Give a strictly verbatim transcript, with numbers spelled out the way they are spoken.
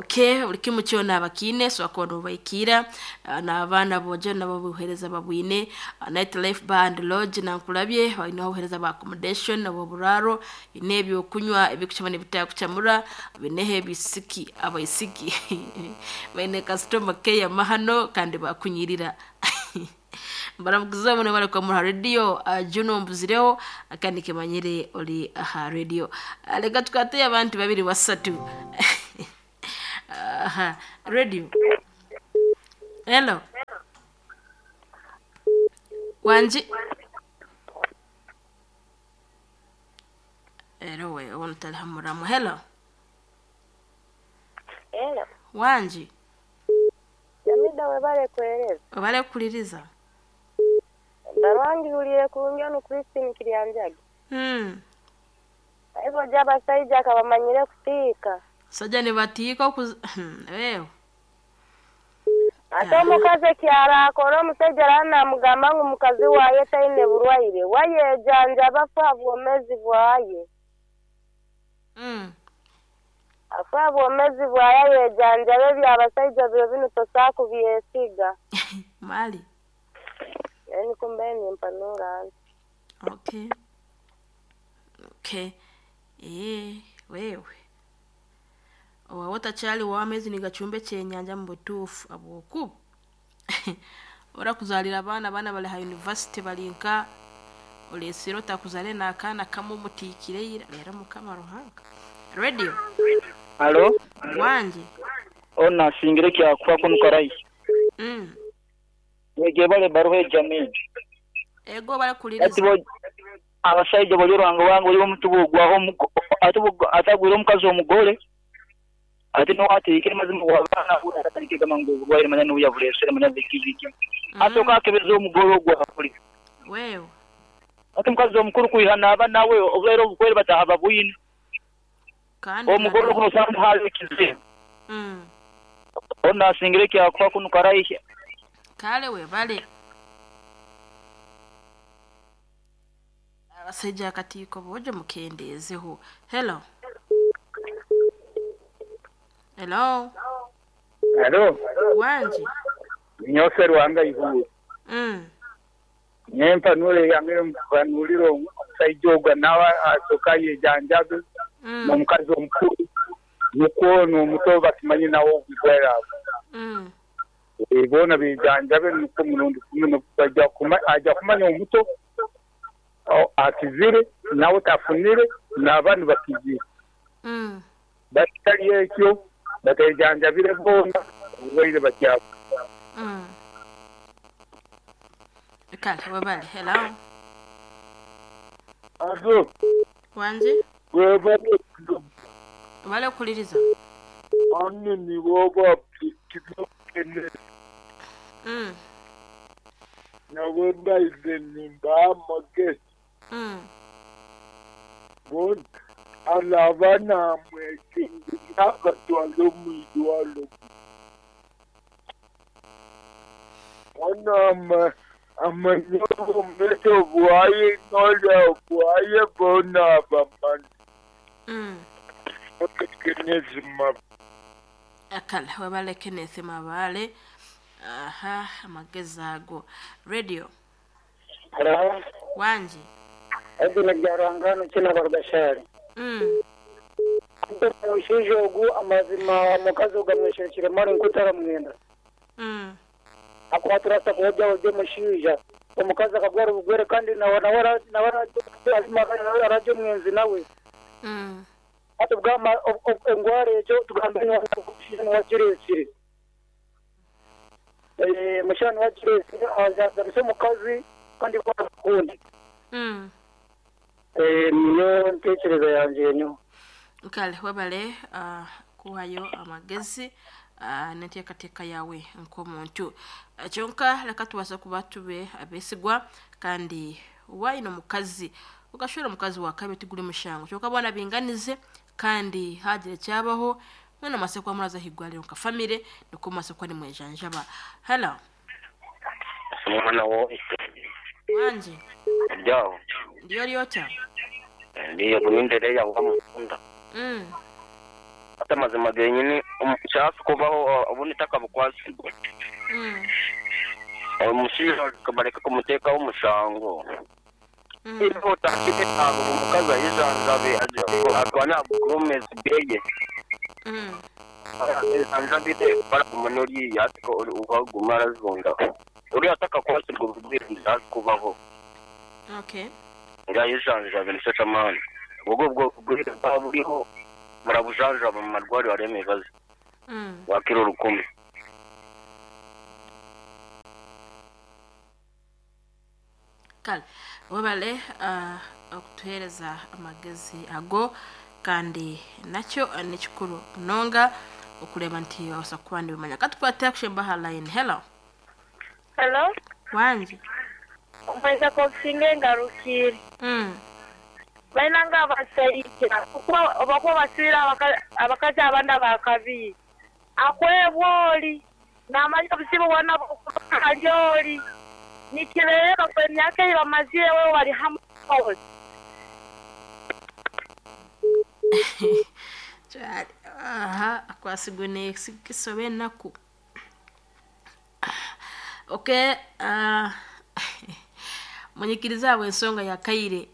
Okay, buli kimu kyona bakiine so akona obaikira uh, n'abaana bojo nabo buhereza babwine. uh, Night Life Bar and Lodge nankulabye balina obuhereza ba accommodation nabo buraro bine ebyokunywa ebikuchama n'ebitakuchamura bineho ebisiki abaisiki baine customer care mahano kandi bakunyirira. Baramuguza muno bari kwa muha radio. uh, Juno mbuzireho kandi kemanyire oli aha radio. uh, leka tukate abantu babiri basatu. Aha, radio. Hello. Wanji. Ero we ono talihamuramu. Hello. Hello. Wanji. Jamida webale kueleza. Webale kuliriza. Barwangi uliye kurungi ono Christine Kiryanjagi. Hmm. Hivyo jaba saija akabamanyire kutika. Saja ni batiika kuz... Wewe. Ate omukazi kyara akora omusajja aranamugamba ngu mukazi waye taine burwaire. Wayejanja bafa bwomezi bwaye. Mm. Afa bwomezi bwaye yejanja bebya abasajja byo bino tosaku byesiga. Mali. Yani kumbe ni mpanura. Okay. Okay. Eh, wewe. Owawota chali wa amezi nigachumbe kyenyanja mu butuufu abwokubu. Ora kuzalira abaana abaana bali ha university balinka olesero takuzale n'akaana kamwe omutiikire leero mukama Ruhanga. Radio. Halo? Wanje. Ona singire kya kufa kunukarai. Mm. Yege bale baruhe jamii. Ego bale kuliriza. Ati abasajja bali rwango wango oli omutubu gwaho atagwira omukazi omugole. Ati no ati kile mazima wabana atarike kama nguvu gwa ile maneno ya vulesere maneno vikiviki. Asoka akebeza omugole ogwa kuli. Wewe. Ati mukazi omukuru kuihana abana we obwero obukwere batahaba bwine. Kandi omugole kuno sanga hali kizibu. Mm. Ona singire kya kufa kunukarai. Kale we bale. Abasajja akatiko bojo mukendezeho. Hello. Hello. Hello. Wanji. Nyose Rwanga ihuye. Mm. Nyempa nule yange mpanuliro omusajja nawa asoka yejanjabe. Mm. N'omukazi omukulu nukwo n'omuto bakimanyi nawo obugwera. Mm. Ebona bejanjabe nukwo murundi kumwe bajja kuma ajja kumanya omuto akizire nawe tafunire n'abandi bakizire. Mm. Batali ekyo batajanjabire bona obulwaire bakyabo. Mm. Kale wabale. Hello. Azo. Wanje? Webale. Wale kuliriza. Ani ni woba tikene. Mm. Na wenda izenimba magesi. Mm. Bon alabana mwekinga batwalo mwidwalo. Ona ma amanyo meto bwaye nola bwaye bona baman. Mm. Kenezima. Akala wabale Kenneth Mabale. Aha, amagezi ago. Radio. Hello. Wanji. Ego najarangano kina barugashari. Mm. Ushije ogu amazima mukazi ugamweshekire mari nkutara mwenda. Mm. Akwatura sakoja oje mushija. Omukazi akagwara ubugwere kandi na nawara nawara azima kandi araje mwenzi nawe. Mm. Ati bwama engware ejo tugambye n'okushija n'wakiresire. Eh mushana wakiresire azaza mukazi kandi kwakundi. Mm. Eh niyo ntekereza yanje nyo. Kale wabale uh, kuhayo amagezi uh, n'enteekateeka yawe nk'omuntu. Uh, kyonka leka tubasa kuba tube abeesigwa kandi waino mukazi ukashora mukazi wakabe tiguli mushango kyonka bwana binganize kandi hagire cyabaho mwana masekwa muraza higwaliro nka family niko masekwa ni mwejanjaba. Hello. Mwana wo Wanje. Ndio. Ndiyo lyota. Ndiyo kunendelea kwa munda. Mm. Hata mazima genyini Omukyasi kubaho obundi takabukwasibwa. Mm. Omushaija bareka kumuteekaho omushango. Mm. Iyo otakite ntabwo omukazi ayijanjabe atwane agomezi bweye. Mm. Anjabite baraguma n'oriya ariko ukaguma arazonda. Uriya atakakwasirwa ubwirinde kubaho. Okay. Ngayijanjabe nicyo cy'amani. Ubwo bwo bwirinde buriho murabujanjaba mu marwariro harimo ibibazo. Mm. Wakira urukumi. Kale webale uh, okutuheereza amagezi ago kandi nakyo eh, nikikuru munonga okureba nti osa kuba nibimanya katukwate akushemba aha line. Hello. Hello. Wangi. Omweza kokusinga engarukire. Mm. Balina nga abasajja okuba obakuba basibira abaka- abakazi abana bakabiri akwebwa oli n'amanya obuzibu bwona ali oli nikireeba kwe emyaka ei bamazire we bali hamwe oli. Kyari, aha akwasigwe nekisobe enaku. Okay, uh, munyikiriza abo ensonga ya kaire.